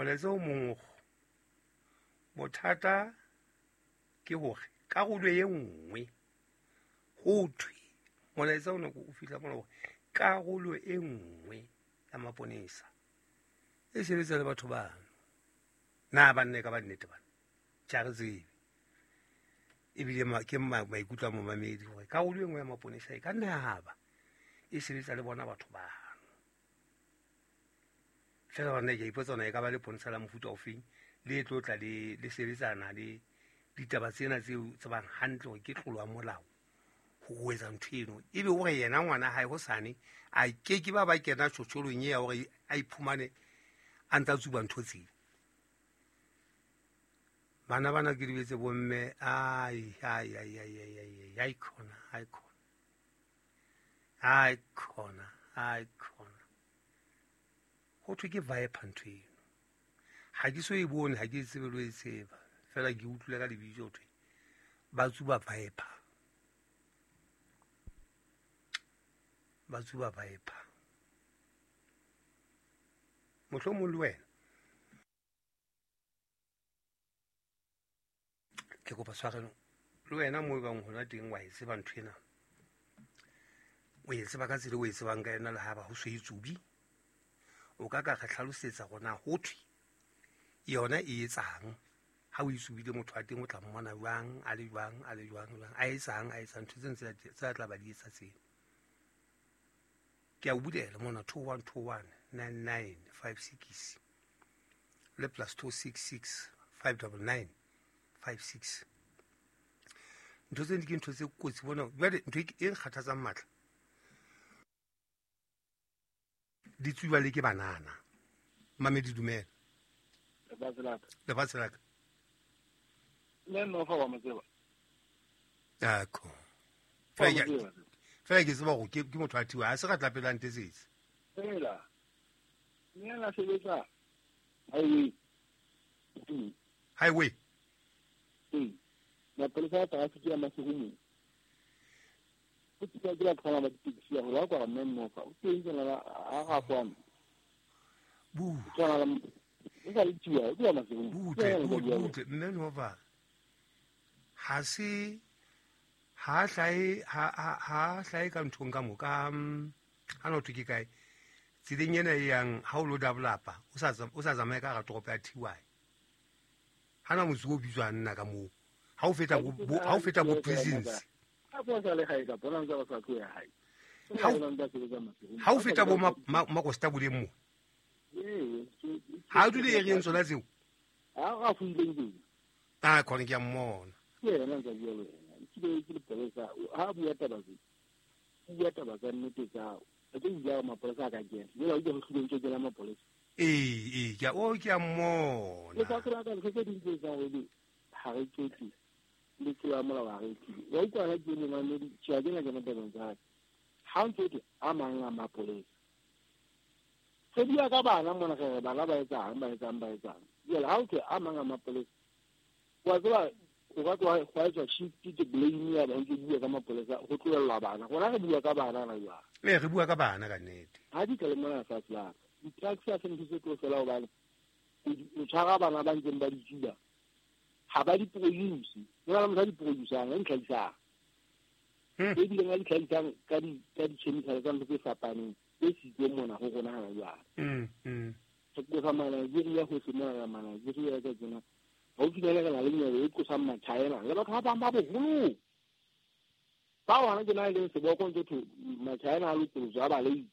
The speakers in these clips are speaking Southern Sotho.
Molaetsa o mong bothata ke hore karolo e nngwe ho thwe molaetsa ona o fihla mona hore karolo e nngwe ya maponesa e sebetsa le batho bano. Na ba nne ka ba nnete bana tja re tsebe ebile ke maikutlo a momamedi hore karolo e nngwe ya maponesa e ka nna ya ba e sebetsa le bona batho bano. Fela bana ke a ipotsa hore e ka ba leponesa la mofuta ofeng le tlo tla le sebetsana le ditaba tsena tseo tsebang hantle hore ke tlolo ya molao ho etsa ntho eno. Ebe hore yena ngwana hae hosane a ke ke ba ba kena tjhotjholong ya hore a iphumane a ntsa tsuba ntho tseo. Bana bana ke dibetse bomme ai ai ai ai ai ai ai khona ai khona ai khona ai khona ho thwe ke viper ntho eno. Ha ke so e bone, ha ke tsebe lo e tseba fela ke utlwile ka lebitso ho thwe ba tsuba viper, ba tsuba viper. Mohlomong le wena ke kopa tshwarelo, le wena mo e bang hona teng wa e tseba ntho ena, o e tseba ka tsela o e tsebang ka yona le ha ba ho so e tsubi, o ka ka re hlalosetsa hore na ho thwe yona e etsang ha o e tsubile motho wa teng o tla mmona jwang, a le jwang, a le jwang, jwang, a etsang, a etsang ntho tse tse tla ba di etsa tseno. Ke a o bulela mona 2121 9956 le plus 266 599 56. Ntho tseno ke ntho tse kotsi bona. Jwale ntho e nkgathatsang matla di tsuba le ke banana. Mamedi dumela. Lefatshe la ka. Le nna fa wa mo tseba. Akho. Fela ke tseba hore ke motho a thiwa, ha se re tla pela ntesetse. Fela. Nna la sebetsa highway. Highway. Mapolesa a traffic ya Maseru. O tsika ke la tlhola ba ditekisi ya hore kwa mme mmofa. O teng tsena la a ga kwana. Bu. Tsona la o sa le tšia, o tla Maseru. Butle, butle, mme nova. Ha se ha hlae ha hlae ka nthong ka mo ka ha no thwe ke kae. Tseleng ena e yang ha o lo developa, o sa tsamaye ka hara toropo ya TY. Hana motse o bitswang nna ka moo. Ha o feta bo prisons. Ha o feta bo Makosta boleng mo. Ha o dule area tsona tseo. Ha a fundile teng. Ah khona ke a mmona. Ke yena ntse bua le wena. Ke le polesa ha bua taba tse. Bua taba tsa nnete tsa. Ke bua mapolesa a ka kena. Jwale o ke ho hlileng ke la mapolesa. Ee, ke o ke a mmona. Le ka tsela ka ntho tse ding tse etsang hore ha re qete le tsela molao ha re qete. Wa utlwa ha ke le mamedi, tjhe ke na ke tabeng tsa. Ha ntse ke a mang a mapolesa. Se bua ka bana mona re bana ba etsang, ba etsang, ba etsang. Jwale ha o ke a mang a mapolesa. Wa tseba o ka tloha hwa etswa shift ke blame ya ba ntse bua ka mapolesa ho tlohella bana. Rona re bua ka bana na jwang? Ee, re bua ka bana ka nnete. Ha di tle mona fatshe la. Di-taxi ha se ntho tse tlo fela hobane o tshwara bana ba ntseng ba di tsuba. Ha ba di produce. Ho na le motho a di produce-ang, a di tlhahisang. E bileng a di tlhahisang ka di-chemical tsa ntho tse fapaneng tse sitseng mona ho rona hana jwale. Re qosa ma-Nigeria hohle mona, ma-Nigeria ka tsena. Haufinyane re na le nyewe e qosang ma-China le batho ba bang ba boholong. Ba hona ke na e leng seboko ntse thwe ma-China a lokolotswe a ba late.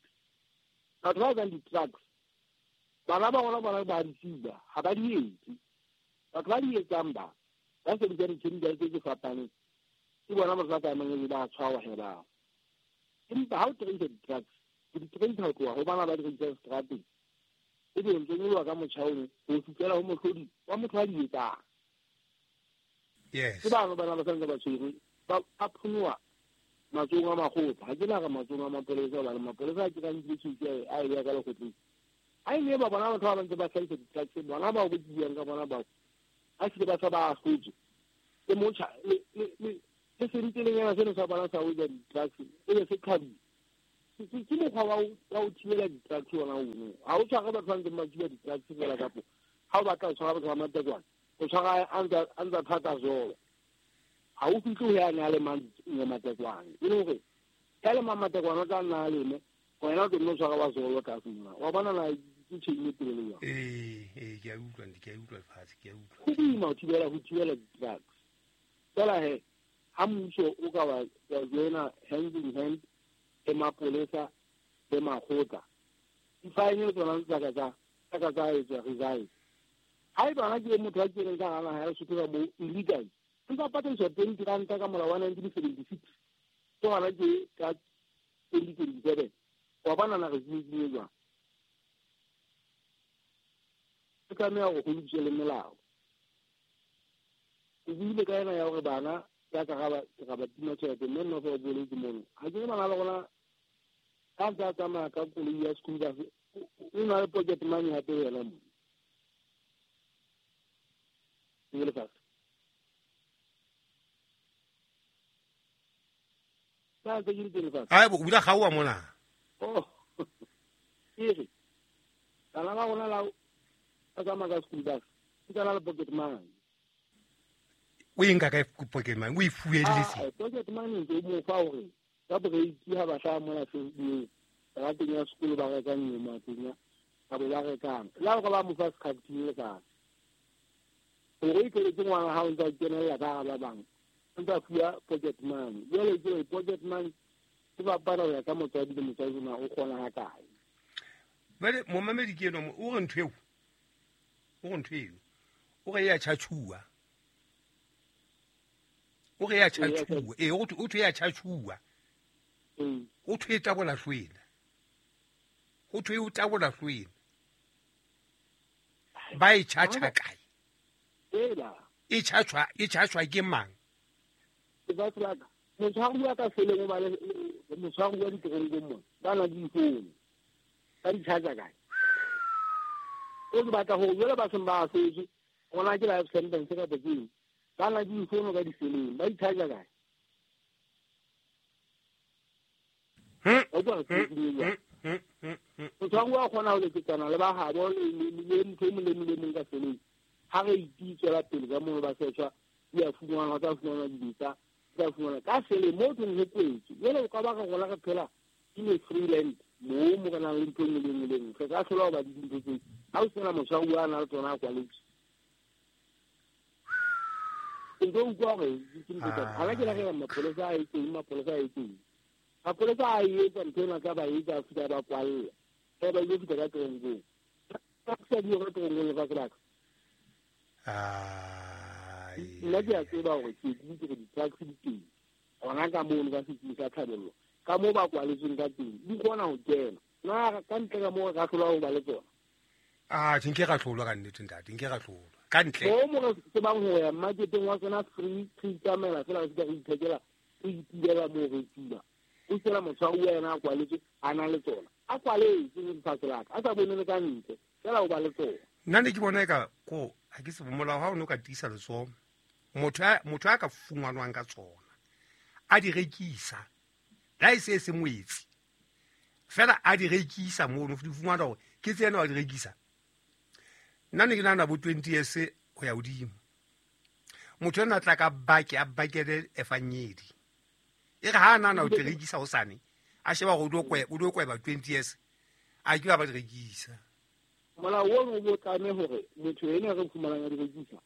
Batho ba etsang di-drugs, bana ba rona bona ba di tsuba, ha ba di etse. Batho ba di etsang ba sebedisa di-chemical tse fapaneng, ke bona batho ba tsamayang ba tshwarwa he bao. Empa ha o trace di-drugs, o di trace ho tloha ho bana ba di rekisang seterateng, ebe o ntse nyoloha ka motjha ono ho fihlela ho mohlodi wa motho a di etsang. Yes. Ke bano bana ba santse ba tshwerwe, ba phunyoha matsohong a makgotla. Ha ke na re matsohong a mapolesa hobane mapolesa a ke ka nkile tjhelete a e beha ka lekgotleng. Ha e ne ba bona batho ba ba ntse ba hlahisa di-taxi, bona bao bo buang ka bona bao, ha se ba sa ba ahlotse. Ke motjha, le sentelenyana seno sa bona sa ho etsa di-taxi, e be se qhadile. Ke mokgwa wa ho thibela di-taxi ona ono. Ha o tshware batho ba ntseng ba tsuba di-taxi feela kapo Ha o batla ho tshwara batho ba Matekwane, o tshwara a ntsa thata zolo. Ha o fihle ho ya na le mang Matekwane. E le hore ya le mang Matekwane o tla nna a leme, wena o tlo nno tshwara wa zolo ka sena. Wa bona na ke chain e telele jwang? Ee, ke a utlwa, ke a utlwa lefatshe, ke a utlwa. Ho boima ho thibela di-drugs. Fela he, ha mmuso o ka wa joina hand in hand le mapolesa le makgotla, di-fine tsona tsa ka tsa etswa resign. Ha eba hana ke motho a keneng ka hara naha ya Lesotho ka moo illegal, ntsa patadiswa 20 ranta ka molao wa 1976. Ke hona ke ka 2027. Wa bona na re tsietsing jwang? Re tlameha hore ho lokiswe le melao. O buile ka ena ya hore bana ya ka ga ba tima tjhelete, mme nna fa o boletse mono. Ha ke re bana ba rona ka ntse a tsamaya ka koloi ya school bus, o na le pocket money hape yena mo. Ke lefatshe. Ka ntse ke le lefatshe. Ai bo bula gaoa mona. Oh. Ke re bana ba rona la ba tsamaya ka school bus, ke tsana le pocket money. O e nka kae pocket money? O e fueletse? Pocket money ke mo fa hore ka break ha ba hlaha mona Facebook, ba teng ya sekolo ba rekang nyama teng, ba bo ba rekang. La hore ba mo fa sekhathini le ka. Hore e tletse ngwana ha o ntsa kenella ka ba bang. O ntsa fuwa pocket money. Jwale ke pocket money ke bapala ho ya ka motswadi le motswadi na o kgona ha kae. Jwale momamedi ke eno o re ntho eo. O re ntho eo. O re ya tjhatjhuwa. O re ya tjhatjhuwa. Ee, o thwe ya tjhatjhuwa. O thwe e tabola hlwena. Ho thwe o tabola hlwena. Ba e tjhatjha kae? E tjhatjhwa ke mang? Motshwaruwa ka seleng o ba le motshwaruwa diteronkong mona, ba na le difounu. Ba di tjhatjha kae? O ke batla hore jwale ba seng ba ahlotse, rona ke life sentence kapa ke eng? Ba na le difounu ka diseleng, ba di tjhatjha kae? Motshwaruwa o kgona ho leketsana le ba habo le motho e mong le mong le mong ka seleng. Ha re itswela pele ka mono ba setjha, di a fumanwa, ho tla fumanwa dibetsa, tla fumanwa ka seleng moo teng ho kwetswe. Jwale o ka ba re rona re phela in a free land moo mo re nang le ntho e nngwe le nngwe le nngwe. Re ka hlola ho ba le dintho tseo. Ha o sena motshwaruwa a na le tsona a kwaletswe. Ke utlwa hore ke ntho tsa ha ke re mapolesa a etseng, mapolesa a etseng. Mapolesa a etsa ntho ena ka ba etsa fihla ba kwalla. Ba ba ile fihla ka teronkong. Ba sa di hore teronkong lefatshe la ka. Nna ke a tseba hore ke ke di-taxi di teng. Hona ka mono ka setsing sa Thabello. Ka moo ba kwaletsweng ka teng, di kgona ho kena. Na ka ntle ka moo re ka hlola ho ba le tsona? Ah, nke ra hlolwa ka nnete ntate, nke ra hlolwa. Ka ntle. Moo mo re tsebang ho ya marketeng wa tsona free, re itsamaela fela re fihla re ithekela, re itibela moo re tsuba. O fela motshwaruwa yena a kwaletswe, a na le tsona. A kwaletswe lefatshe la ka, a sa bone le ka ntle, fela o ba le tsona. Nna ne ke bona eka ko ha ke se molao ha o no ka tiisa letsoho. Motho a ka fumanwang ka tsona, a di rekisa. La e se se moetsi. Fela a di rekisa mono, di fumana hore ke tsena wa di rekisa. Nna ne ke nahana bo 20 years ho ya hodimo. Motho ena tla ka bake a bakele efanyedi. E re ha nana o di rekisa hosane, a sheba hore o do kweba 20 years, a ke ba di rekisa. Molao ono o tlameha hore motho ena re fumanang a di rekisa,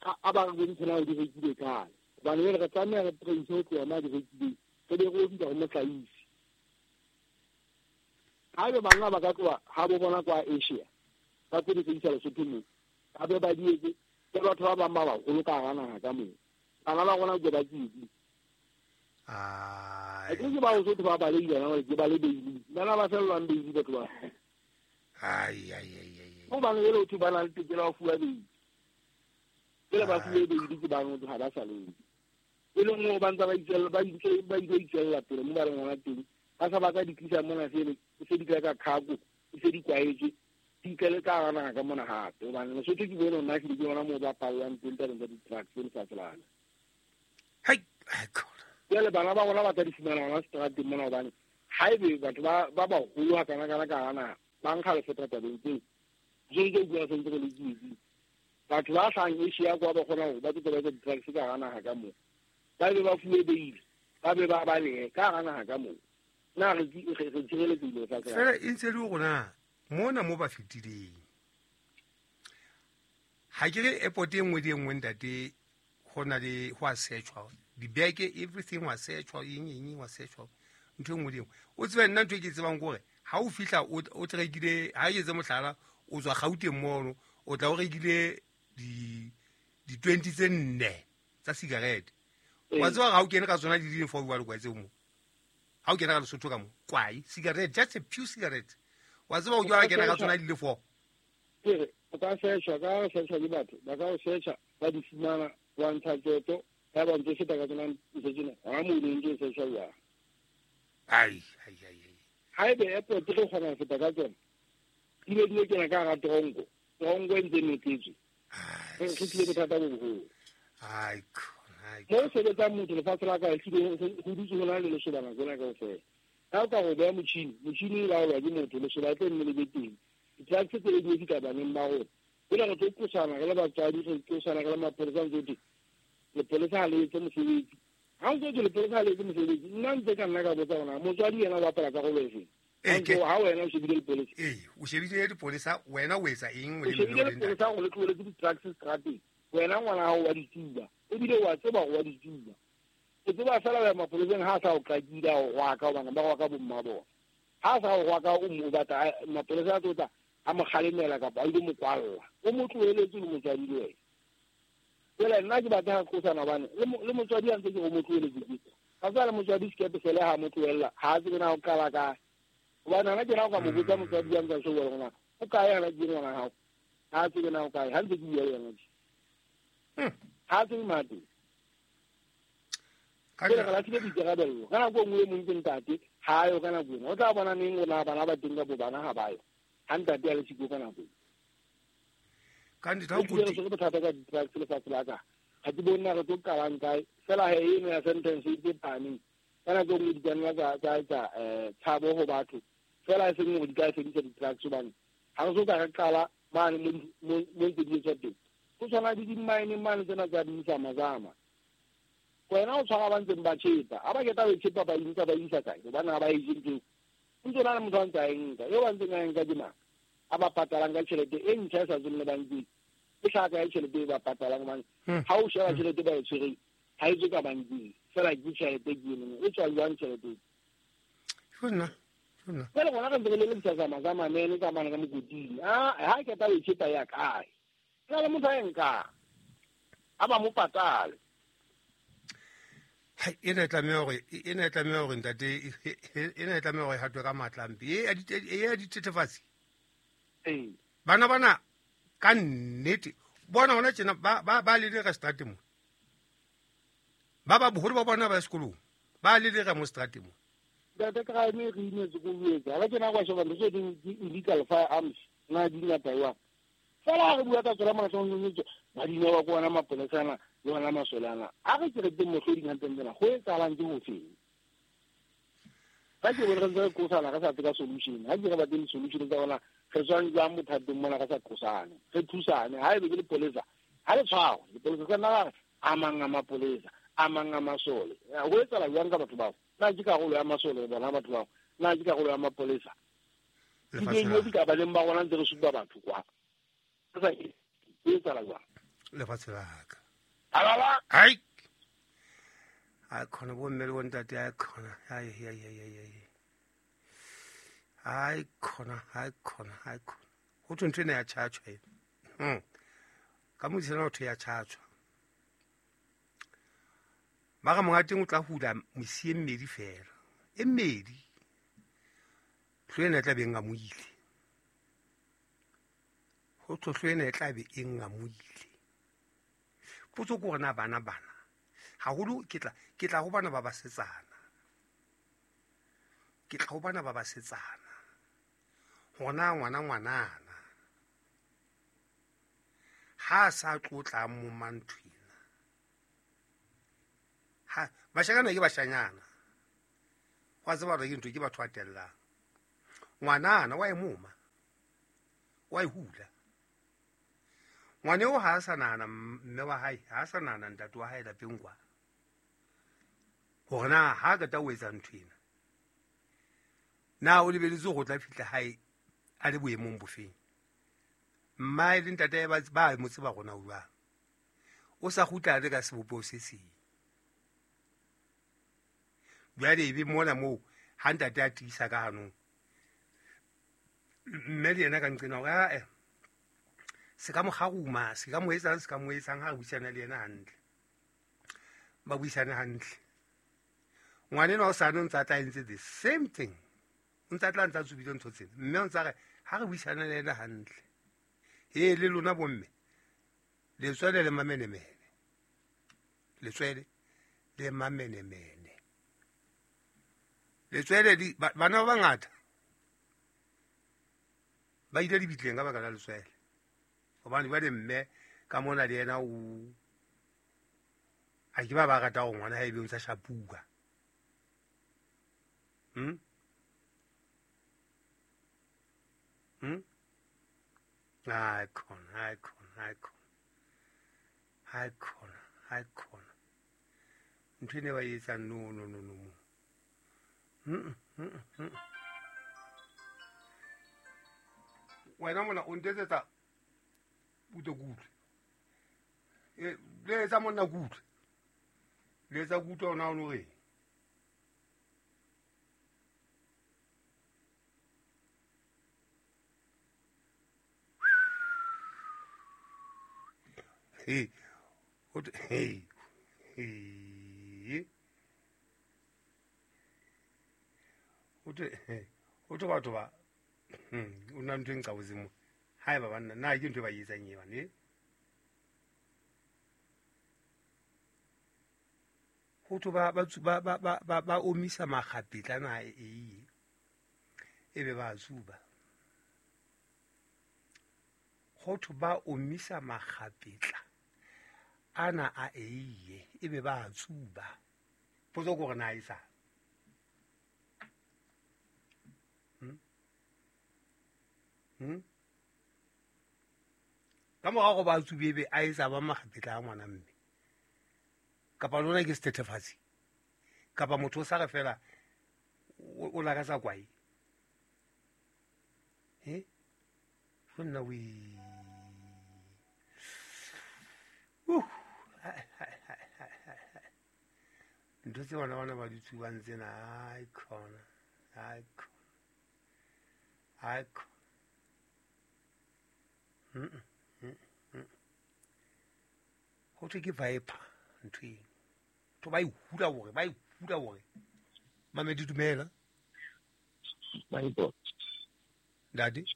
a ba re bontshe na o di rekile kae. Hobane re tlameha re trace ho tloha ma di rekileng, re be re fihla ho mohlahisi. Haebe banna ba ka tloha ha bo bona kwa Asia, ba tlo di rekisa Lesotho moo, ba be ba di etse ke batho ba bang ba baholo ka hara naha ka moo. Bana ba rona ke ba tsietsi. Ai. Ke ba Lesotho ba baleile bana, ke ba le beile. Bana ba fellwang beile batho ba. Ai ai ai ai. Hobane jwale ho thwe ba na le tokelo ya ho fuwa beile. Jwale ba fuwe beile ke bang ha ba sa leng. E leng hore ba ntse ba itswella, ba ntse ba ile itswella pele mo ba reng hona teng. Ba sa batla di tlisa mona sele, se di tla ka khago, se di kwaetse, di tlele ka hara naha ka mona hape. Hobane Lesotho ke bone nna ke bona moo ba pallwang teng tabeng tsa di-trucks tse lefatshe lana. Hai, hai khona. Jwale bana ba rona ba tla di fumana hona seterateng mona hobane haebe batho ba baholo ha kana kana ka hara naha, ba nkga Lesotho tabeng tseo. Je ke bua sentse re le tsietsing. Batho ba hlahang Asia kwa ba kgona hore ba tlo ba etsa di-drugs ka hara naha ka moo. Ba be ba fuwe bail, ba be ba balehe ka hara naha ka moo. Na re tshireletsehile lefatshe la Fela e ntse le rona mona mo ba fetileng. Ha ke re airport e nngwe le e nngwe ntate ho na le ho a searchwa. Dibeke everything wa searchwa, eng eng wa searchwa. Ntho e nngwe le e nngwe. O tsebe nna ntho e ke tsebang ke hore ha o fihla o trekile, ha ke etse mohlala, o tswa Gauteng mono, o tla o rekile di 20 tse nne tsa cigarette. Wa tseba ha o kene ka tsona di di four jwalo kwa tseo mo. Ha o kena ka Lesotho ka mo, kwai, cigarette, just a few cigarette. Wa tseba o jwala kena ka tsona di le four. Ke o ka searchwa, ka searchwa ke batho, ba ka o searcha, ba di fumana, wa ntsha tjotjo, ya ba ntse feta ka tsona ntho tsena, ha mo ne ntse searchwa jwang. Ai, ai, ai, ai. Ha ebe airport re kgona ho feta ka tsona, di be di kena ka hara tronko, tronko e ntse notletswe. Re tlile bothata bo boholo. Ai, ai. Mo sebetsang motho lefatshe la ka ehlile ho dutse ho na le lesoba nako ena kaofela. Ha o ka go beha motjhini, motjhini o laolwa ke motho, lesoba e tlo nne le be teng. Di-drugs tse di fihla baneng ba rona. Jwale re tlo qosana re le batswadi, re qosana re le mapolesa ntse thwe lepolesa ha le etse mosebetsi. Ha ntse thwe lepolesa ha le etse mosebetsi, nna ntse ka nna ka botsa hore motswadi yena o bapala karolo efe? Ha wena o shebile lepolesa. Ee, o shebile lepolesa, wena o etsa eng? O shebile lepolesa hore le tlohelletse di-drugs strateng. Wena ngwana hao wa di tsuba, ebile wa tseba hore wa di tsuba. O tseba fela ho ya mapoleseng ha a sa o qakile a o rwaka, hobane ba rwaka bomma bona. Ha a sa o rwaka o mo batla mapolesa a tlo tla a mo kgalemela kapa a ile mo kwalla. O mo tlohelletse le motswadi le wena. Jwale nna ke batla ho qosana hobane le motswadi a ntse ke o mo tlohelletse ke. Ka tswa le motswadi sekepe fela ha mo tlohella, ha a tsebe na ho qala kae. Hobane hana ke na o ka mo botsa motswadi a ntse a shebile hore na o kae hana ke ngwana hao. Ha a tsebe na o kae, ha ntse ke bua le yena. Ha a tsebe mate. Jwale re lahlile boikarabello. Ka nako e nngwe e mong ke ntate, ha a yo ka nako ena. O tla bona neng hore na bana ba teng kapa bana ha ba yo. Ha ntate a le siko ka nako ena. Ka nnete, ha o Re tshwere bothata ka di-drugs lefatshe la ka. Ha ke bone na re tlo qalang kae. Fela he eno ya sentence e tse phahameng. Ka nako e nngwe di ka nna tsa etsa tshabo ho batho. Fela e seng hore di ka fedisa di-drugs hobane ha re so ka re qala mane mo ntse di etswa teng. Ho tshwana le di-mine mane tsena tsa di-zamazama. Wena o tshwara ba ntseng ba tjhepa. Ha ba qeta ho tjhepa ba inka ba isa kae? Hobane ha ba e je ntho. O ntso na le motho a ntse a e nka. Eo ba ntseng a e nka ke mang? A ba patalang ka tjhelete e ntjha e sa tsweng le bankeng. E hlaka ya tjhelete e ba patalang hobane ha o sheba tjhelete ba e tshwereng, ha e tswe ka bankeng. Fela ke tjhelete ke eno. E tswa jwang tjhelete e? Jonna, jonna. Jwale rona re ntse re lelekisa zamazama mene ka mane ka mokoting. Ha qeta ho e tjhepa ya kae? Jwale le motho a e nkang. A ba mo patale. Hai, ena e tlameha hore, ena e tlameha hore ntate, ena e tlameha hore e hatwe ka matla a mpe. E ya dithethefatsi. Ee. Bana bana ka nnete, bona hona tjena ba lelera seterateng mo. Ba boholo ba bona ba ya sekolong, ba lelera mo seterateng mo. Ntate crime re imetse ko etsa. Ha ke na kwa sheba ntho tse ding di illegal firearms na di ngata jwang. Fela ha re bua ka tsona mona tsona ba di newa ko ona mapolesa ana le ona masole ana. A re ke re teng mohloding hantle tsena ho etsahalang ke ho feng? Ka ke bone re ntse re qosana re sa tsebe solution. Ha ke re batle solution tsa rona re tswang jwang bothateng mona re sa qosane. Re thusane. Ha ebe ke lepolesa, ha le tshwarwe. Lepolesa ka nna re a mang a mapolesa, a mang a masole. Ho etsahala jwang ka batho bao? Na ke karolo ya masole bona batho bao? Na ke karolo ya mapolesa? Ke dilo di ka ba leng ba rona ntse re supa batho kwa. Re sa e etsahala jwang? Lefatshe la ka. Alala. Ai. Ai khona bo mme le bo ntate, ai khona. Ai ai ai ai ai. Ai khona, ai khona, ai khona. Ho thwe ntho ena ya tjhatjhwa ena. Ka modisana ho thwe ya tjhatjhwa. Ba re monga teng o tla hula mesi e mmedi fela. E mmedi. Hlo ena e tla be e ngamohile. Ho thwe hlo ena e tla be e ngamohile. Potso ke hore na bana bana. Haholo ke tla ho bana ba basetsana. Ke tla ho bana ba basetsana. Hona ngwana ngwanana. Ha sa tlotla mo manthwena. Ha bashanyana ke bashanyana. Wa tseba hore ke ntho ke batho ba tellang. Ngwanana wa e moma. Wa e hula. Ngwane o ha a sa nahana mme wa hae, ha a sa nahana ntate wa hae lapeng kwa. Hore na ha a qeta ho etsa ntho ena, na o lebeletse hore o tla fihla hae a le boemong bofeng? Mmae le ntate ba mo tseba rona o jwang. O sa kgutla a le ka sebopeho se seng. Jwale ebe mona moo ha ntate a tiisa ka hanong, mme le yena ka nqena hore ae se ka mo kgaruma, se ka mo etsang, se ka mo etsang, ha re buisana le yena hantle. Ba buisane hantle. Ngwanenwa o sane o ntse a tla entse the same thing. O ntse a tla ntse a tsubile ntho tsena. Mme o ntse a re ha re buisana le yena hantle. He le lona bomme, letswele le mamenemene. Letswele le mamenemene. Letswele di bana ba bangata ba ile dibitleng ka baka la letswele. Hobane jwale mme ka mona le yena o a ke ba rata hore ngwana hae ebe o ntsa shapuwa. Hai khona, hai khona, hai khona. Hai khona, hai khona. Ntho ene ba e etsang no no no no. Wena mona o ntetsetsa buto kutlwe. Le etsa monna kutlwe. Le etsa kutlwe ona o no reng? Hey, hey, hey. Ho thwe batho ba o na ntho e nqaboseng mo. Haeba banna na ke ntho e ba e etsang e bane. Ho thwe ba omisa makgapetla na e ebe ba tsuba. Ho thwe ba omisa makgapetla ana a eiye ebe ba tsuba. Potso ke hore na e sa. Ka morao go ba tsube ebe a etsa ba makgapetla a ngwana mme. Kapa lona ke sethethefatsi. Kapa motho o sa re fela o lakatsa kwae. He? Ho nna o ntho tse bana bana ba di tsubang tsena, hai khona, hai khona, hai khona. Ho thwe ke viper ntho eno. Ntho ba e hula hore, ba e hula hore. Mamedi dumela. Ba Ntate.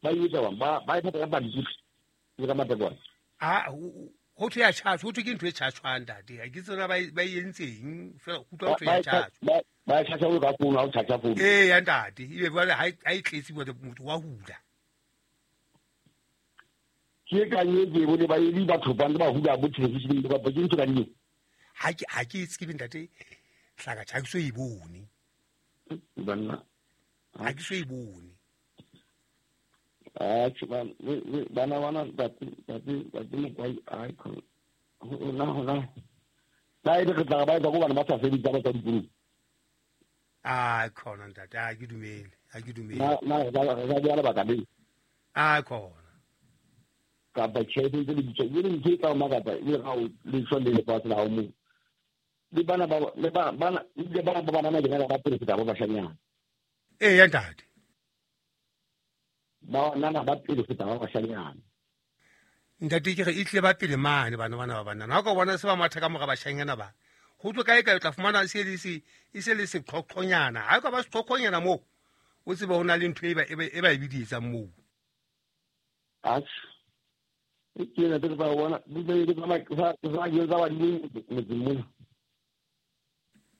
Ba etsa ba e phatha ka pampiri le ka matekwane. Ah, ho thwe ya tjhatjha, ho thwe ke ntho e tjhatjhwang ntate. Ha ke tsena ba e entseng fela utlwa ho thwe ya tjhatjha. Ba tjhatjha o ka founu ha o tjhatjha founu. Ee ya ntate, ebe jwale ha e tletse motho wa hula. Ke ka e bone ba e batho ba ntse ba hula bo television ba ke ntho ka nne. Ha ke tsebe ntate hlaka tjha ke so e bone. Banna. Ha ke so e bone. Ah, bana bana ntate Mokwai ai khona. Hona. Ba e re tla ba etsa go bana ba sa sebetsa ba tsa dikolong. Ah, khona ntate, ha ke dumele, ha ke dumele. Na re ba ka le. Ah, khona. Kapa tjhelete tse le bitsa, e le ntho e ka o makatsa, e le ga o le shwa le lefatshe la hao moo. Le bana ba le ba bana le bana ba banana ke ba pele feta ba bashanyana. Ee ya ntate. Ba nana ba pele feta ba bashanyana. Ntate ke re e tle ba pele mane bana bana ba banana. Ha o ka bona se ba matha ka mora bashanyana ba. Ho tlo kae kae o tla fumana se le se e se le seqhoqhonyana. Ha o ka ba seqhoqhonyana moo o tsebe ho na le ntho e ba e biditsang moo. Atjhe. Ke ne ke ba bona di be ke ba ke tsa ba di motseng mona.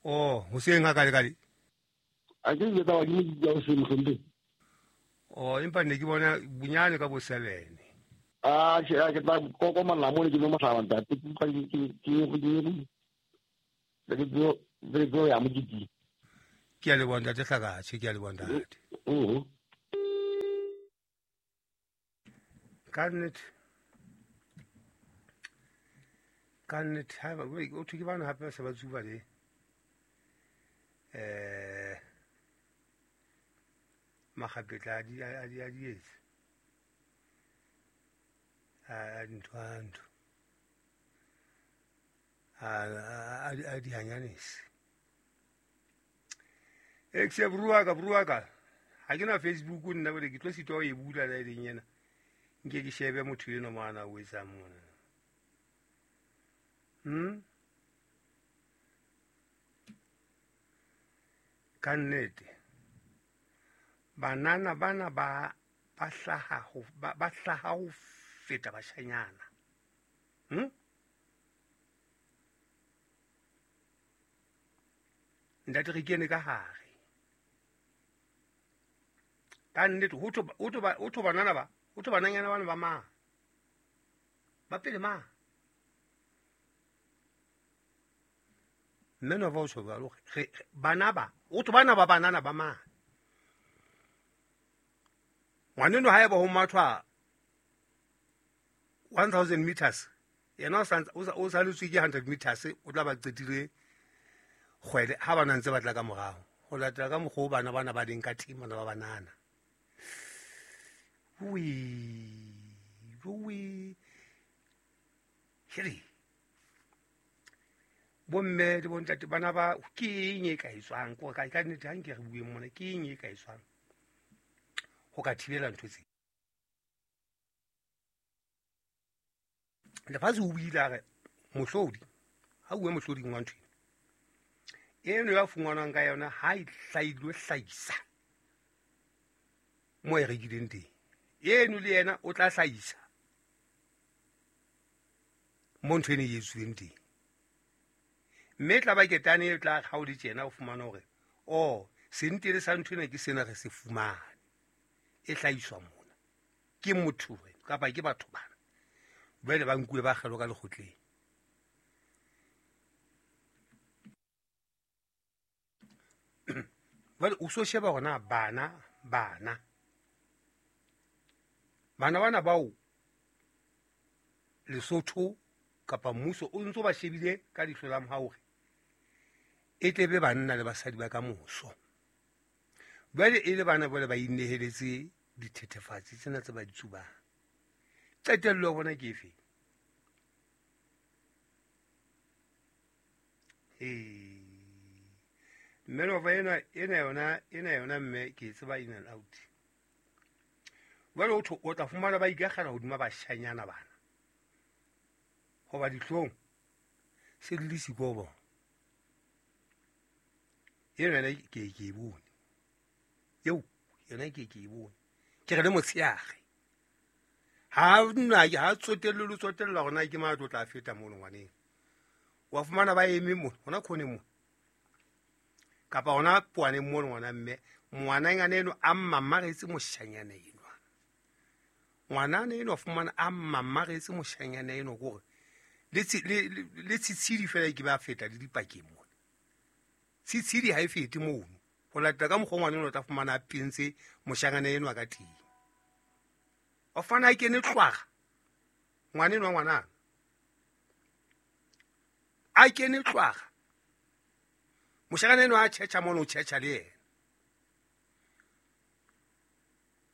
Oh, hoseng ha kale kale. A ke ke tsa ba di di ya hoseng mohlompe. Oh, empa ne ke bona bonyane ka bo 7. Ah, ke tla kokomana mo ke no mohlaba ntate ke ke ya mokiti. Ke a leboha ntate Hlakatjhe, ke a leboha ntate. Ka nnete. Ka nnete haeba o thwe ke bana hape ba se ba tsuba le makgapetla a dietse a dintho a ntho a dihanyanese. Exe bua ka ha ke na Facebook nna bole ke tlo sitwa ho e bula la e leng yena nke ke shebe motho eno mona o etsang mona. Ka nnete banana bana ba hlaha ho feta bashanyana. Ntate re kene ka hare. Ka nnete ho tho banana ba, ho tho bananyana bana ba mang? Ba pele mang? Mme no va o tjho jwalo re bana ba, o tho bana ba banana ba mang? Ngwaneno ha eba ho mathwa 1000 meters, yena o saletswe ke 100 meters, o tla ba qetile kgwele ha bana ntse ba tla ka morao. Ho latela ka mokgwa o bana bana ba leng ka teng, bana ba banana. Ui, heri. Bomme le bontate bana ba ke eng e ka etswang? Ko ka nnete ha nke re bueng mona, ke eng e ka etswang ho ka thibela ntho tse? Lefatshe o buile a re mohlodi, ha bue mohloding wa ntho eno ya fungwanwang ka yona ha e hlailwe hlahisa mo e rekileng teng, eno le yena o tla hlahisa mo ntho eno e etsuweng teng. Mme tla ba ketane e tla ha o le tjena o fumana hore o sentele sa ntho ena ke sena re se fumane e hlahiswa mona ke motho kapa ke batho bana jwale ba nkuwe ba kgelwa ka lekgotleng. Jwale o so sheba hore na bana bana bao Lesotho kapa mmuso o ntso ba shebile ka leihlo la mohau hore e tle be banna le basadi ba ka moso. Jwale e le bana jwale ba ineheletse dithethefatsi tsena tse ba di tsubang. Qetello ya bona ke efe? Mme nova ena yona mme ke e tseba in and out. Jwale o tla fumana ba ikakgela hodima bashanyana bana. Hoba dihlong se di le siko bona. Eno yona ke e bone. Eo yona ke e bone. Ke re le motsheare. Ha nna ha tsotelle le tsotella hore na ke mang a tlo tla feta mono ngwaneng. Wa fumana ba eme mono, hona khoneng mono. Kapa hona poaneng mono ngwana mme, ngwananyana eno a mmamaretse moshanyana enwa. Ngwanana eno wa fumana a mmamaretse moshanyana eno kore le tshitshidi fela ke ba feta le dipakeng mona. Tshitshidi ha e fete mono. Ho latela ka mokgwa ngwana eno o tla fumana a pentse moshanyana enwa ka teng. O fana a kene tlwara ngwana enwa ngwanana. A kene tlwara. Moshanyana enwa a tjhetjha mono, o tjhetjha le yena.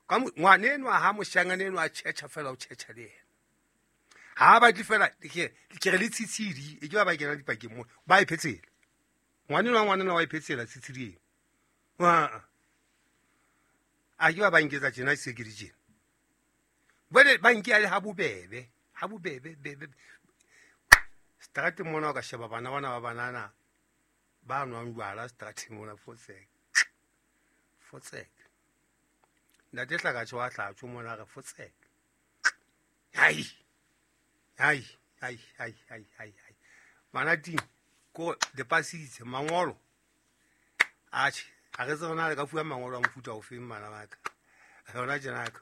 Ka ngwana enwa ha moshanyana enwa a tjhetjha fela, o tjhetjha le yena. Ha ba batle fela ke re le tshitshidi e ke ba kena dipakeng mo ba e phetsela. Ngwana enwa ngwanana wa e phetsela tshitshidi eno. A ke ba nketsa tjena se ke di tjena. Jwale ba nke le ha bobebe, bebe. Strateng mona o ka sheba bana bana ba banana ba nwang jwala strateng mona fotsek. Fotsek. Ntate Hlakatjho wa hlatjho mona re fotsek. Hai. Hai. Bana ting ko le pasitse mangolo. Atjhe, ha re tsebe na le ka fuwa mangolo a mofuta ofeng bana ba ka. Hona tjena ka.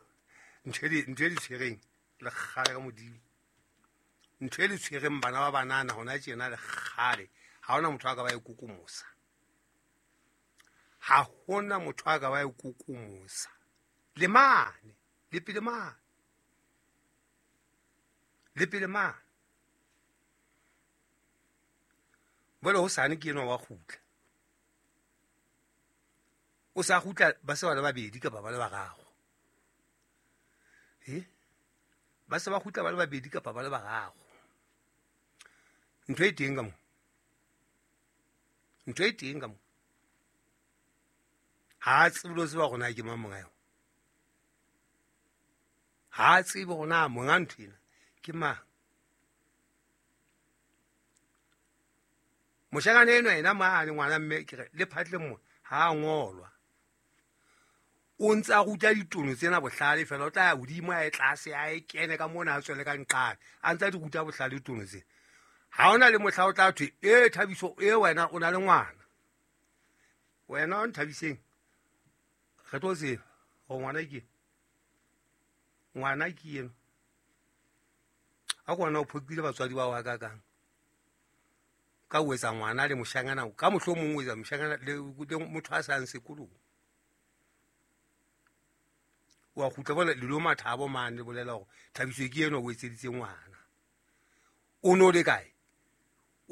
Ntho e di tshwereng le kgale ka Modimo. Ntho e le tshwereng bana ba banana hona tjena le kgale. Ha hona motho a ka ba e kokomosa. Ha hona motho a ka ba e kokomosa. Le mane, le pele mane. Le pele mane. Jwale hosane ke enwa wa kgutla. O sa kgutla ba se ba le babedi kapa ba le bararo. Ba se ba kgutla ba le babedi kapa ba le bararo. Ntho e teng ka mo. Ntho e teng ka mo. Ha a tsebe le ho tseba hore na ke mang monga yona. Ha a tsebe hore na monga ntho ena ke mang. Moshanyana enwa ena mane ngwana mme ke re le phatleng mona ha a ngolwa. O ntse a ruta ditono tsena bohlale fela, o tla ya hodimo a ye tlase a e kene ka mona a tswele ka nqane. A ntse a di ruta bohlale ditono tsena. Ha hona le mohla o tla thwe, e Thabiso, e wena o na le ngwana. Wena o Nthabiseng, re tlo tseba hore ngwana ke ngwana ke eno. A ko wena o phoqile batswadi ba hao hakakang. Ka o etsa ngwana le moshanyana, ka mohlomong o etsa moshanyana le motho a sa yang sekolong. Wa kgutla bona le lo mathabo mane le bolela hore Thabiso ke eno o etseditse ngwana. O no le kae?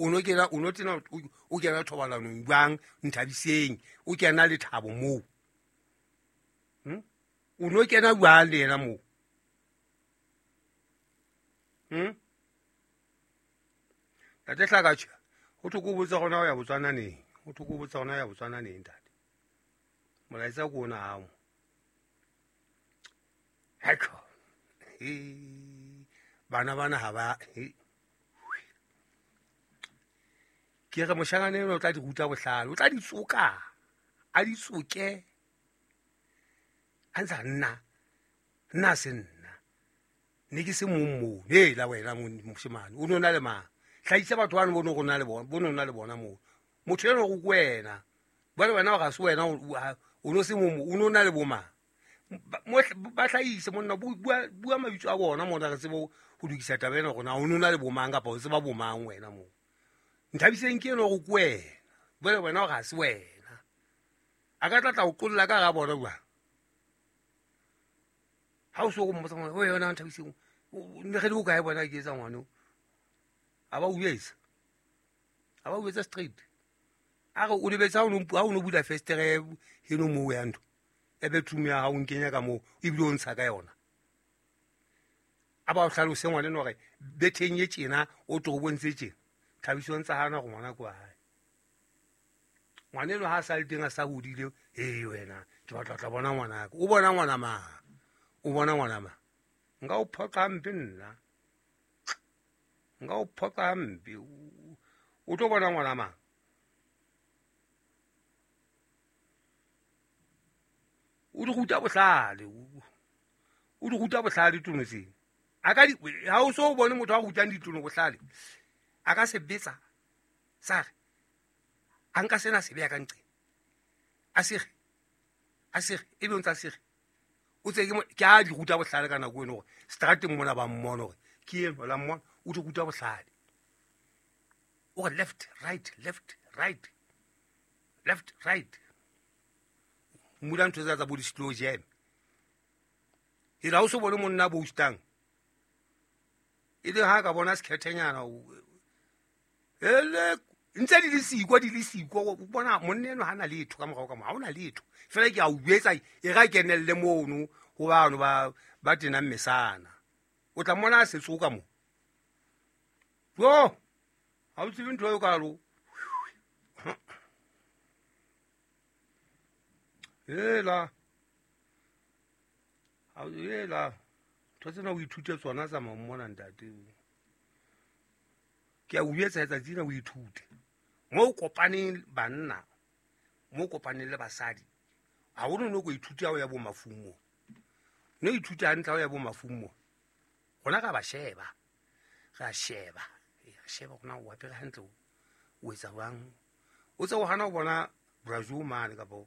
O no kena, o no tena, o kena thobalanong jwang Nthabiseng? O kena le Thabo moo. O no kena jwang le yena moo? Ntate Hlakatjha, ho thwe ke o botsa hore na o ya Botswana neng? Ho thwe ke o botsa hore na o ya Botswana neng, ntate? Molaetsa ke ona hao mo. Heko. Bana bana ha ba ke re moshanyana enwa o tla di ruta bohlale, o tla di tsoka, a di tsoke. A ntsa nna, nna se nna. Ne ke se mong moo. Hela wena moshemane, o no na le mang? Hlahisa batho bano bo no rona le bona, bo no na le bona moo. Motho enwa o ko wena. Jwale wena o ga se wena, o no se mong moo, o no na le bo mang? Ba hlahise monna, bua mabitso a bona mona re tsebe ho lokisa taba ena hore na o no na le bo mang kapa o tseba bo mang wena moo. Nthabiseng ke enwa o ko wena. Jwale wena o ga se wena. A ka tla tla o qolla ka hara bona jwang? Ha o so go mmotsa ngwana, o yona Nthabiseng, ne re le o kae bona ke etsa ngwana o? A ba o etsa. A ba o etsa straight. A re o lebetse ha o no bula festere heno moo ya ntho. E bedroom ya hao o nkenya ka moo, ebile o ntsha ka yona. A ba o hlalose ngwana enwa hore betheng e tjena, o toropong tse tjena. Thabiso o ntsa hana hore ngwana ke wa hae. Ngwana enwa ha a sa le teng a sa hodile, ee wena, ke batla ho tla bona ngwanaka. O bona ngwana mang? O bona ngwana mang? Nka o phoqa hampe nna. Nka o phoqa hampe. O tlo bona ngwana mang? O di ruta bohlale. O di ruta bohlale ditono tsena. A ka di, ha o so bone motho a rutang ditono bohlale, a ka se betsa sa re a nka sena se beya ka nqeng. A sege, a sege, ebe o ntsa sege. O tse ke mo, ke a di ruta bohlale ka nako eno hore strateng mona ba mmona hore ke eno la mmona, o di ruta bohlale. O re left, right, left, right, left, right. Mmula ntho tsa tsa bo di-slow jam. E la o so bone monna bo boostang. E le ha ka bona sekhethenyana, ele ntse di le siko, di le siko, o bona monna enwa ha na letho ka morao ka mo, ha ona letho. Fela ke a o jwetsa, e ra kenelle mono ho bano ba tenang mesana. O tla mmona a se tsoka mo. Jo, ha o tsebe ntho eo kalo. Hela. Hela. Ntho tsena o ithute tsona tsa mmona ntate. Ke a o jwetsa letsatsi lena o ithute. Mo kopaneng banna, mo kopaneng le basadi, ha ho no ko ithute ha o ya bo mafung moo. No ithute hantle ha o ya bo mafung moo. Rona ra ba sheba. Ra sheba. Re sheba rona o apere hantle, o etsa jwang. O tse o hana ho bona Brazil mane kapa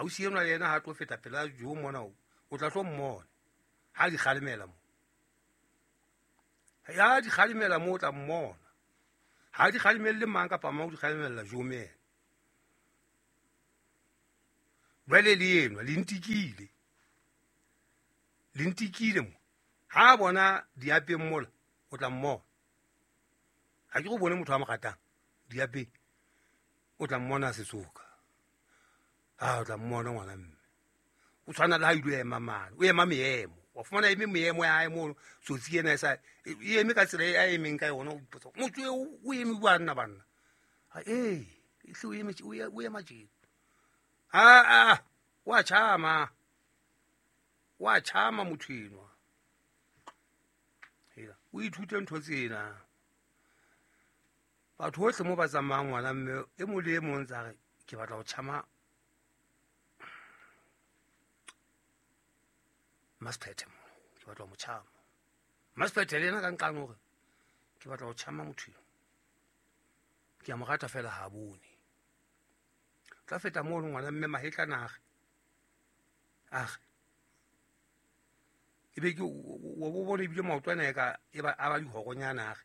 ausi enwa le yena ha tlo feta pela jo mona o tla tlo mmona. Ha di kgalemela mo. Ya di kgalemela mo o tla mmona. Ha di kgalemelle mang kapa mang, o di kgalemella jo mena. Jwale le enwa, le ntikile. Le ntikile mo. Ha bona diapeng mola, o tla mmona. Ga ke go bone motho a mo ratang diapeng, o tla mmona setsoka. A o tla mmona ngwana mme o tshwana le ha ile ema mane, o ema meemo, wa fumana eme meemo ya hae mono, tsotsi ena e sa e eme ka tsela e a emeng ka yona. O ipotsa motho eo o eme bua nna banna. Ee, ehle o eme, o ema tjena. A wa tjhama, wa tjhama motho enwa. Hela, o ithute ntho tsena. Batho hohle mo ba tsamayang ngwana mme e mong le e mong tsa re ke batla ho tjhama Masiphethe mo, ke batla ho mo tjhama. Masiphethe le yena ka nqane hore ke batla ho tjhama motho eo. Ke a mo rata fela ha bone. Tla feta mono ngwana mme mahetla na re. A re. Ebe ke o bo bone ebile maoto ana e ka e ba a ba dihoronyana a re.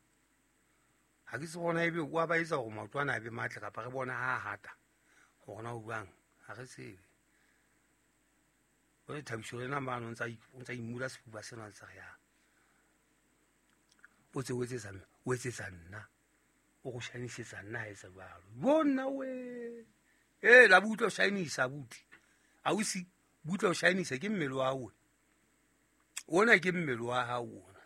Ha ke se bona ebe o a ba etsa hore maoto ana a be matle kapa re bona ha hata. Hore na o buang ha re tsebe. Jwale Thabiso le yena mane o ntsa imula sefuba sena ntse re ya. O tse o etsetsa o etsetsa nna. O go shinisetsa nna ha etsa jwalo. Bona we. Eh la butle o shinisa buti. Ausi butle o shinisa ke mmele wa hao. Ona ke mmele wa hao ona.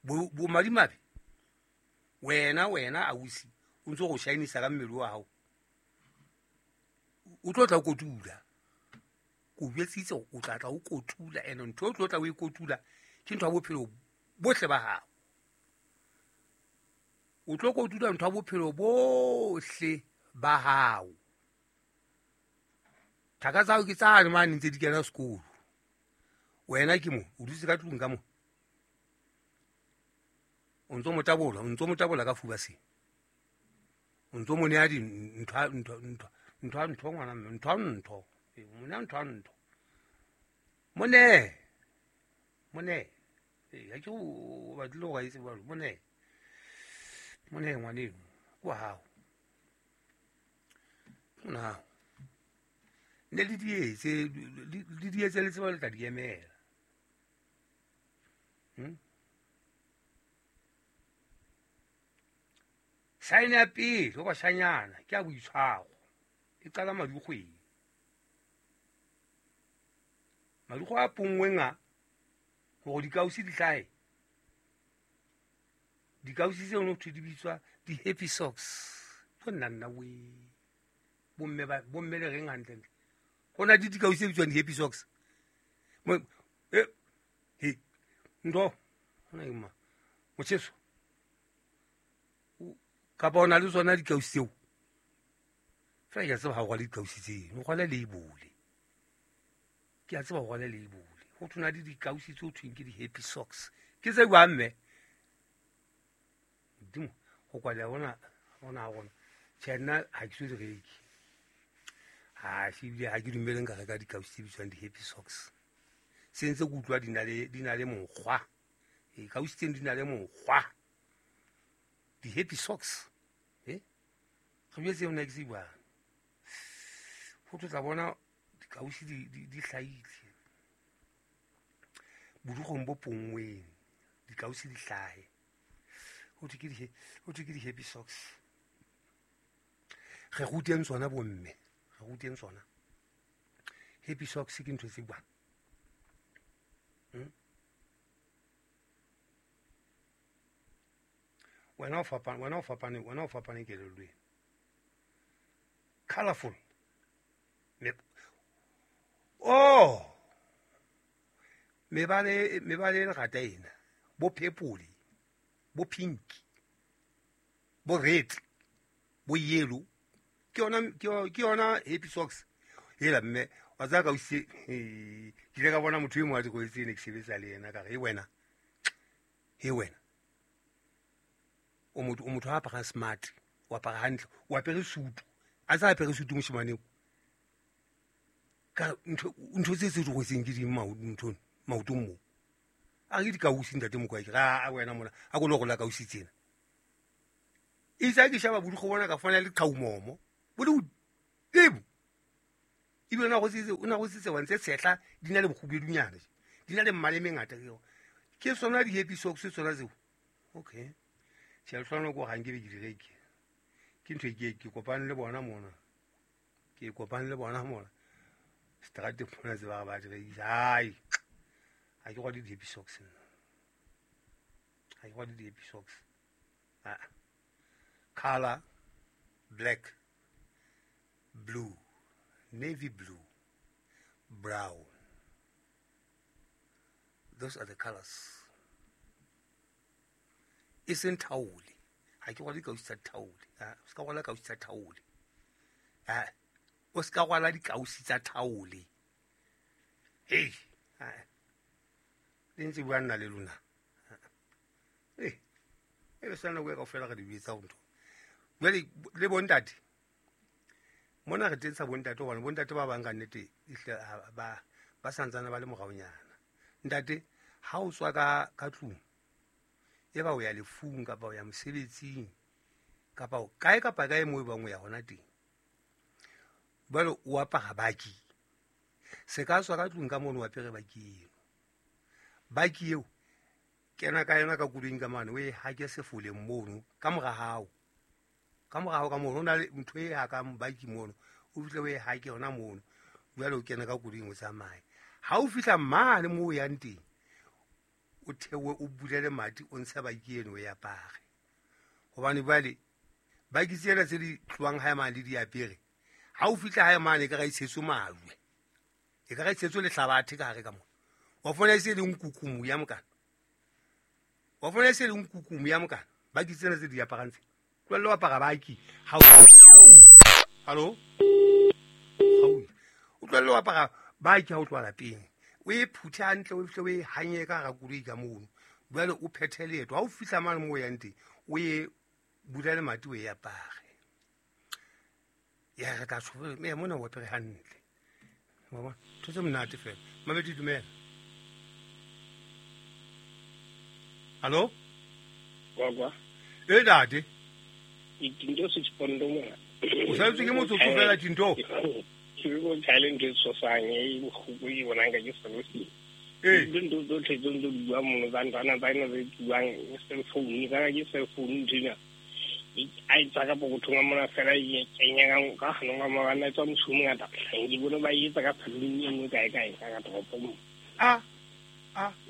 Bo madimabe. Wena wena ausi o ntse go shinisa ka mmele wa hao. O tlo tla o kotula. Ko jwetsitse o tla tla o kotula, ene ntho o tlo tla o e kotula ke ntho ya bophelo bohle ba hao. O tlo kotula ntho ya bophelo bohle ba hao. Thaka tsa hao ke tsane mane ntse di kena sekolo. Wena ke mo, o dutse ka tlung ka mo. O ntso mo tabola, o ntso mo tabola ka fuba se. O ntso mo nea di ntho ntho ntho ntho ntho ngwana mme, ntho ntho. Mo nea ntho ntho. Mo nee. Mo nee. Ha ke o batlile hore a etse jwalo, mo nee. Mo nee ngwaneno, ke wa hao. Ke ngwana hao. Ne le di etse, le di etse le tseba le tla di emela. Saene ya pele ho bashanyana ke ya boitshwaro. E qala madikgweng. Madikgwe a ponngweng a hore dikausi di hlahe. Dikausi tseo no thwe di bitswa di-happy socks. Ho nna nna we. Bomme ba, bomme le reng hantle ntle. Ho na le dikausi tse bitswang di-happy socks. Mo, he, ntho, hona ke mang? Motjheso. Kapa o na le tsona dikausi tseo? Fela ke a tseba ha o rwale dikausi tseno, o rwale label. Ke a tseba o rwale label. Ho thwe na le dikausi tse ho thweng ke di-happy socks. Ke tse jwang mme? Modimo, ho kwaleha hona, hona ha rona. Tjhe, nna ha ke so di reke. Ha, ebile ha ke dumele nka reka dikausi tse bitswang di-happy socks. Se ntse ke utlwa di na le mokgwa. Ee, kausi tseno di na le mokgwa. Di-happy socks. Re jwetse yona ke se jwang. Ho tla bona dikausi di hlahile. Bodukgong bo ponngweng, dikausi di hlahe. Ho thwe ke di-happy socks. Re ruteng tsona bomme, re ruteng tsona. Happy socks ke ntho tse jwang? Wena o fapane, wena o fapane, wena o fapane kelellong. Colorful. Oh! Mebala e lerata ena, bo purple, bo pink, bo red, bo yellow. Ke yona happy socks. Hela mme, wa tseba ka usitse, ke ile ka bona motho e mong a di rwetse ne ke sebetsa le yena, ka re, he wena. He wena. O motho a aparang smart, o apara hantle, o apere sutu. A sa apere sutu moshemane eo. Ka ntho tse tse di rwetseng ke di ntho maotong moo. A re dikausi ntate Mokoa, ke re, a wena mona, a ko lo rola kausi tsena. Itse ha ke sheba bodikgo bona ka fumana le qhaumomo, bo le hodimo. Ebile o na rwetse wa ntse tshehla, di na le bokgubedunyana, di na le mmala e mengata. Ke sona di-happy socks tsona tseo. Okay. Tjhe, lehlohonolo ke hore ha nke be ke di reke. Ke ntho e ke kopane le bona mona. Ke kopane le bona mona. Seterateng mona tse ba re ba di rekisa. Hai, ha ke rwale di-happy socks nna. Ha ke rwale di-happy socks. Ah. Color black, blue, navy blue, brown. Those are the colors. E seng thaole. Ha ke rwale dikausi tsa thaole. Ah, o ska rwala kausi tsa thaole. Ah, o ska rwala dikausi tsa thaole. Hey, ah. Le ntse bua nna le lona. Eh, e be sa nako e kaofela re di etsa ho ntho. Jwale le bontate. Mona re tentsha bontate hobane bontate ba bang ka nnete ehlile ba santsane ba le moraonyana. Ntate, ha o tswa ka tlung, e ba o ya lefung kapa o ya mosebetsing kapa o kae kapa kae moo e bang o ya hona teng. Jwale o apara baki. Se ka tswa ka tlung ka mono o apere baki eno. Baki eo kena ka yona ka koloing ka mane, o e hake sefoleng mono ka mora hao. Ka mora hao ka mono ho na le ntho e hakang baki mono, o fihle o e hake hona mono. Jwale o kene ka koloing o tsamaye. Ha o fihla mane moo o yang teng, o theohe o bule lemati o ntshe baki eno o e apare. Hobane jwale baki tsena tse di tlohang hae mane le di apere, ha o fihla hae mane e ka ra e tshetswe majwe. E ka ra e tshetswe lehlabathe ka hare ka mona. Wa fumana e se le nkukumu ya mokana. Wa fumana e se le nkukumu ya mokana. Baki tsena tse di aparang tse. Tlohella ho apara baki. Ha o Hallo? O tlohelle ho apara baki ha o tloha lapeng. O e phuthe hantle, o fihle o e hanye ka hara koloi ka mono. Jwale o phethe leeto. Ha o fihla mane moo o yang teng, o e bula lemati o e apare. Ya re tla tjho, me mona o apere hantle. Wa bona? Ntho tse monate fela. Mamedi, dumela. Hallo? Kwa. E ntate. Tinto se tspondo mona. O saletswe ke motsotso fela Tinto. Ke go challenge e tshosang e bohloko e bonang ka ke selo. Ee. Dintho tsotlhe tse ntse di bua mono tsa nthwana tsa ena tse buang cell phone ka ke cell phone nthwena. A e tswa ka pokothong a mona fela e kenya ka ganong ka mona e tswa mosi o mongata. Ke bone ba e etsa ka saloon e nngwe kae kae ka toropong. A.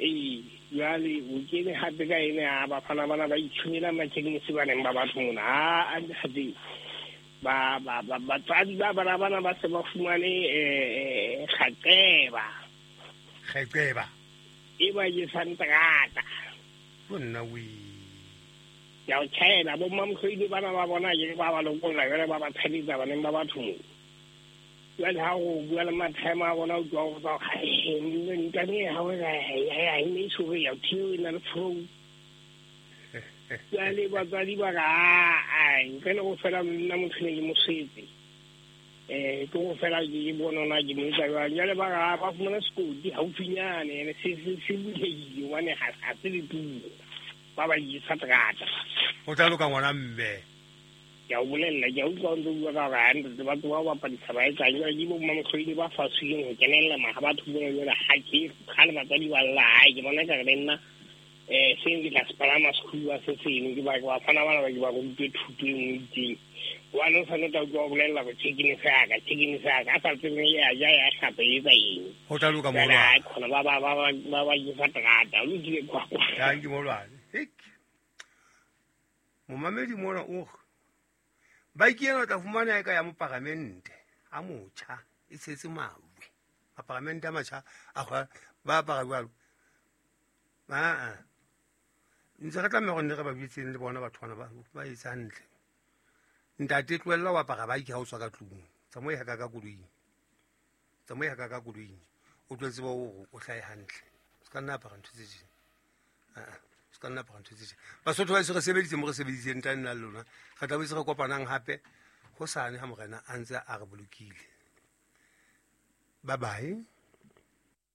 Ee, jwale o kene hape ka ene a bafana bana ba itshunela mathekenisi ba neng ba batho mona. A hape ba ba ba batswadi ba bana bana ba se ba fumane kgaqeba. Kgaqeba. E ba jesang terata. Ho nna we. Ya o tjhaela bo mmamhloile bana ba bona ke ba ba lokolla jwale ba ba tshabetsa baneng ba batho moo. Jwale ha o bua le mathema a bona o utlwa ho tswa ntwane ha o ya e ne so ya thiwe na le flow. Jwale batswadi ba ka a ntle le go fela nna motho ne ke mosetse. Ke go fela ke bona na ke mo etsa jwang. Jwale ba ka ba fumana sekoti haufinyane ene se se bulehile hobane ha se le tulo. Ba ba isa terata. O tla loka ngwana mme. Ke a o bolella, ke a utlwa o ntse o bua ka hore ha ntate batho ba bapadisa ba etsang jwale ke bo mmamokgoile ba faswileng ho kenella maha batho bona jwale ha ke kgale batswadi ba lla hae ke bona ekare le nna seng ke tla se palama sekhuwa se seno ke ba bafana bana ba ke ba rutwe thuto e nngwe itseng. Hobane o sa no tla utlwa o bolella hore tjhekine se ya ka, tjhekine se ya ka, a sa tsebeng e a ja ya hlapa e etsa eng. Ho tla loka Jwale molwane. ha khona ba jesa terata, o lokile kwa kwa. Thank you molwane. Hek. Momamedi mona o re baki ena o tla fumana e ka ya moparamente a motjha e tshetse majwe. Maparamente a matjha a ba apara jwalo. Aa. Ntse re tlameha hore nne re ba bitseng le bona batho bana ba etsa hantle. Ntate tlohella ho apara baki ha o tswa ka tlung. Tsamaya ka koloing. Tsamaya ka koloing. O tlo tseba hore o hlahe hantle. O ska nna apara ntho tse tjena. Aa. O ska nna apara ntho tse tjena. Basotho ba se re sebeditse mo re sebeditseng tla nna le lona. Re tla boetse re kopanang hape hosane ha morena a ntse a re bolokile. Bye bye.